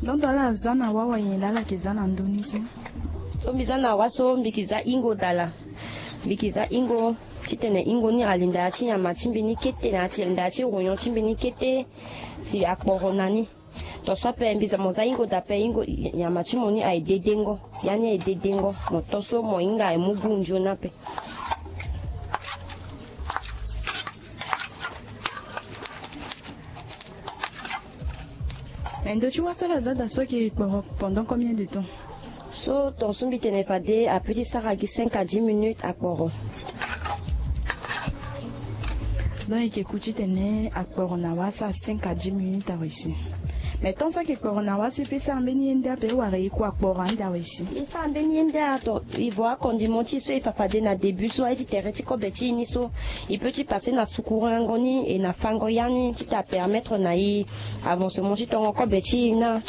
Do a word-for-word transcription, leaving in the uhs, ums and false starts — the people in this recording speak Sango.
Ndo ndo ala za na wa wa nyen laa ala yeke za na ndö ni so? So mbi za na wa so mbi yeke za hingo dala. Mbi yeke za hingo titene hingo ni alinda ya ti nyama ti mbi ni kete na ya ti alinda ya ti ronyon ti mbi ni kete. Si akporo na ni. Ton so ape mbi za mo za hingo da ape hingo. Nyama ti mo ni aye dedengo. Ya ni aye dedengo. Mo to so mo hinga aye mu gu nzoni ape. Mais ndo ti wa so ala za da so ayeke kporo pendant combien de temps? So ton so mbi tene fade ape ti sara gi cinq à dix minutes akporo. Donc e yeke ku titene akporo na wa asara cinq à dix minutes awe si. Mais temps so ayeke kporo na wa so e pe sara mbeni ye nde ape wala e ku akporo ande awe si? E sara mbeni ye nde ato. E vo akondiment ti e so e fa fade na début so aye ti tere ti kobe ti e ni so e pe ti passe na sukurango ni e na fango ya ni ti ta permettre na e avancement ti tongo kobe ti e na.